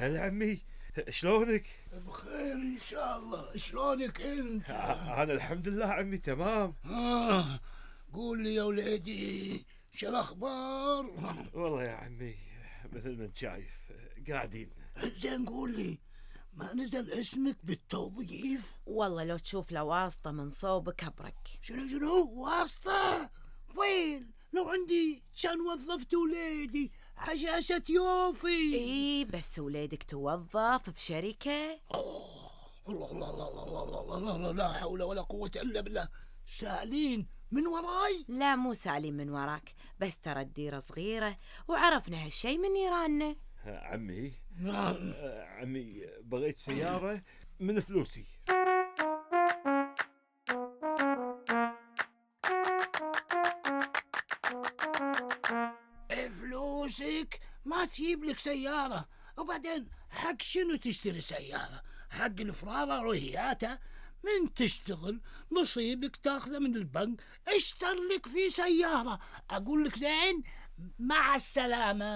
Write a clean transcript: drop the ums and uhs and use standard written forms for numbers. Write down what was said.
هلا عمي، شلونك؟ بخير ان شاء الله. شلونك انت؟ انا الحمد لله عمي تمام. قول لي يا وليدي شو الاخبار؟ والله يا عمي مثل ما انت شايف قاعدين. زين قول لي، ما نزل اسمك بالتوظيف؟ والله لو تشوف له واسطة من صوبك أبرك. شنو واسطة؟ وين؟ لو عندي كان وظفت وليدي حشاشة يوفي. اي بس وليدك توظف بشركة. الله الله الله الله الله الله الله، لا حول ولا قوة إلا بالله. سالين من وراي؟ لا مو سالين من وراك، بس ترى الديرة صغيرة وعرفنا هالشي من نيراننا. عمي عمي بغيت سيارة من فلوسي. فلوسك ما تجيب لك سيارة، وبعدين حق شنو تشتري سيارة؟ حق الفرارة روهياتها؟ من تشتغل نصيبك تاخذه من البنك، اشتر لك في سيارة. اقول لك زين، مع السلامة.